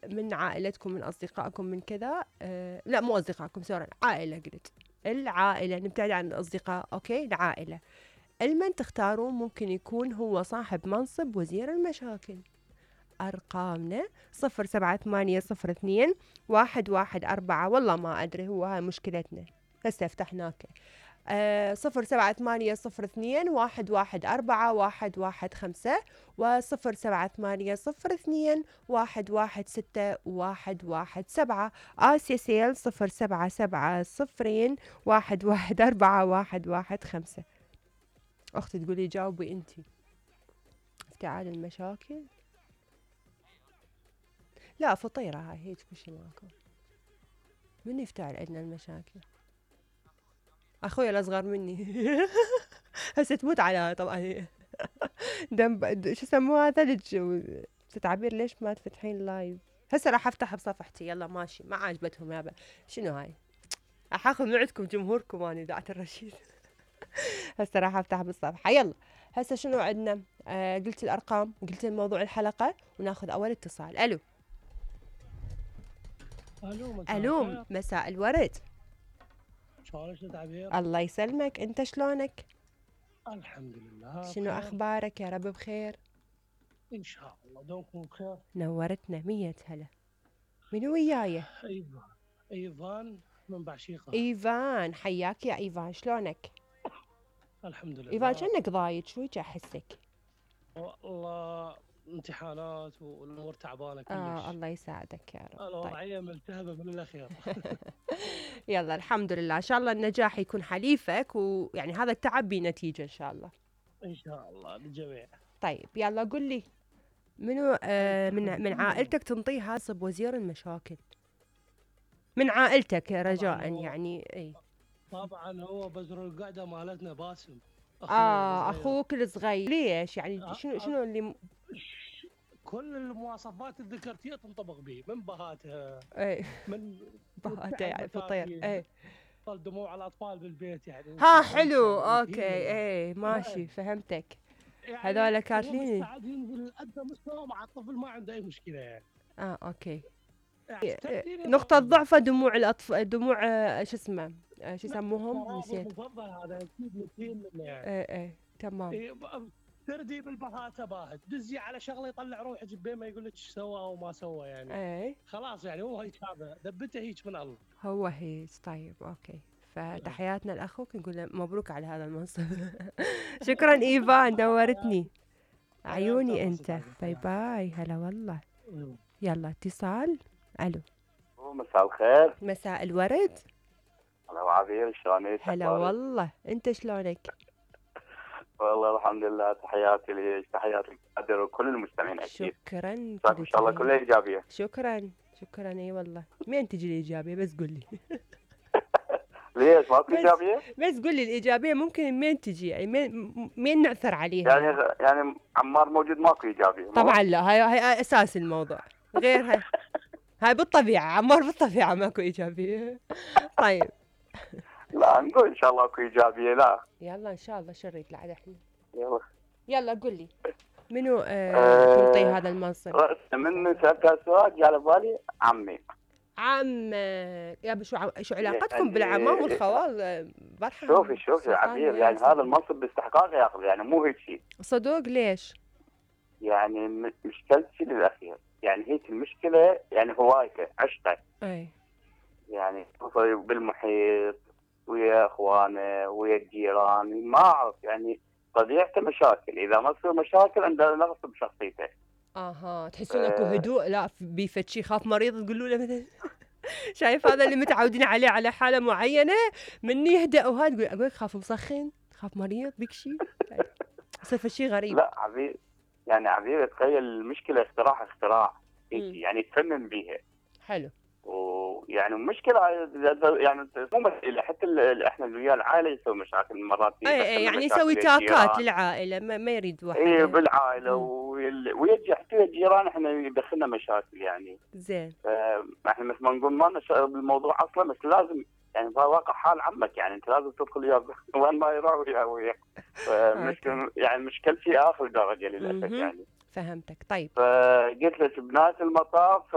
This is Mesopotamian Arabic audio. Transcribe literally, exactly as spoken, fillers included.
من عائلتكم من أصدقائكم من كذا، آه لا مو أصدقائكم سوري، عائلة قلت، العائلة نبتعد عن الأصدقاء، أوكي العائلة. المن تختارون ممكن يكون هو صاحب منصب وزير المشاكل. أرقامنا صفر سبعة ثمانية صفر اثنين واحد واحد أربعة، والله ما أدري، هو هاي مشكلتنا هسه فتحناك. آه صفر سبعة ثمانية صفر اثنين واحد واحد أربعة واحد واحد خمسة، وصفر سبعة ثمانية صفر اثنين واحد واحد ستة واحد واحد سبعة. آسيا سيل صفر سبعة سبعة صفرين واحد واحد أربعة واحد واحد خمسة. أختي تقولي جاوبي أنتي. افتعال المشاكل، لا فطيرة هاي هيك كل ماكو. من يفتعل عندنا المشاكل؟ أخوي الأصغر مني. هسه تموت على طبعا. دم شو يسموها ثلج تعبير. ليش ما تفتحين لايف؟ هسه راح افتح بصفحتي. يلا ماشي، ما عجبتهم يابا. شنو هاي؟ راح اخذ موعدكم جمهوركم اني دعت الرشيد. هسه راح افتح بالصفحه. يلا هسه شنو عندنا؟ آه قلت الارقام، قلت الموضوع الحلقه، وناخذ اول اتصال. الو الو مساء الو الخير. مساء الورد. شلونك يا تعبير؟ الله يسلمك، انت شلونك؟ الحمد لله شنو بخير. اخبارك؟ يا رب بخير ان شاء الله دومكم بخير. نورتنا مية هلا. منو وياي؟ ايفان. ايفان من بعشيقة. ايفان، حياك يا ايفان، شلونك؟ الحمد لله. ايفان كأنك ضايج شوي احسك. والله امتحانات والامور تعبانه كلش. اه الله يساعدك يا رب. الوضعيه طيب. ملتهبه من الاخير. يلا الحمد لله، ان شاء الله النجاح يكون حليفك، ويعني هذا التعب بنتيجه ان شاء الله. ان شاء الله للجميع. طيب يلا قل لي، منو آه من من عائلتك تنطيه منصب وزير المشاكل؟ من عائلتك رجاء يعني. اي طبعا هو بزر القعده مالتنا باسم. اه اخوك الصغير. ليش يعني؟ أه شنو شنو اللي م... كل المواصفات اللي ذكرتيها تنطبق به، من بهاتها، اي من بهاته يعني فطير. اي طل دموع الاطفال بالبيت يعني. ها حلو اوكي. اي ماشي فهمتك. يعني هذول كاتلين مستعد ينزل لأدنى مستوى مع الطفل، ما عنده اي مشكله يعني. اه اوكي. يعني نقطة ضعفه دموع الأطفال، دموع آه شو اسمه، آه شو يسموهم نسيت. المفضل هذا اكيد نسيم منه يعني. ايه ايه تمام. إيه تردي بالبهاته باهت، دزي على شغله يطلع روحك بين ما يقول لك ايش سوى او ما سوى يعني. ايه خلاص يعني هو هيك، هذا دبته هيك من الله. هو هيك. طيب اوكي، فتحياتنا لاخوك، نقول له مبروك على هذا المنصب. شكرا ايفان، نورتني عيوني انت. باي باي. هلا والله. يلا اتصال. الو مساء الخير. مساء الورد. هلا وعبير، شلونك؟ هلا والله، انت شلونك؟ والله الحمد لله. تحياتي لك، تحياتي للقادر وكل المستمعين اكيد. شكرا. ان شاء الله كلها ايجابيه. شكرا شكرا. اي والله مين تجي الايجابيه؟ بس قول لي. ليش ماكو ايجابيه؟ بس قول لي الايجابيه ممكن مين تجي يعني، مين مين نعثر عليها يعني يعني عمار موجود ماكو ايجابيه؟ طبعا لا، هاي هاي اساس الموضوع. غير هاي هاي بالطبيعه، عمار بالطبيعه ماكو ايجابيه. طيب لا نقول ان شاء الله اكو ايجابيه. لا يلا ان شاء الله. شريت لعد احنا. يلا يلا قل لي منو آه تنطي أه هذا المنصب؟ من سالت السؤال جاء على بالي عمي. عمك يا شو ع... شو علاقتكم بالعمام والخوال؟ برحة شوفي شوفي عبير، يعني هذا المنصب باستحقاق ياخذ، يعني مو هيك شيء. صدق ليش؟ يعني مشكلتي للاخير، يعني هيك المشكله، يعني هوايته عشقه. اي يعني بالمحيط ويا اخوانه ويا الجيران، ما اعرف يعني طبيعته مشاكل. اذا ما تصير مشاكل عنده نقص بشخصيته. اها تحسون اكو هدوء؟ لا بيفد شي خاف مريض تقولوا له مثلا. شايف هذا اللي متعودين عليه على حاله معينه، من يهدأ وهذا تقول اقول خاف مسخن، خاف مريض بك شيء. يصير شيء غريب. لا عبير، يعني عبير تخيل المشكله اختراع اختراع يعني تفنن بيها. حلو. ويعني مشكله يعني مو مسألة، حتى احنا ويا العائله يسوي مشاكل مرات. اي اي يعني يسوي تاكات للعائله، ما, ما يريد واحد. اي بالعائله ويجي حتى الجيران احنا يدخلنا مشاكل يعني. زين. احنا مثل ما نقول ما لنا بالموضوع اصلا، بس لازم يعني واقع حال عمك، يعني انت لازم تدخل وياه وين ما يروح وياه وياك. مشكل يعني مشكلتي اخر درجه للاسف يعني. فهمتك. طيب فقلت لك بنهايه المطاف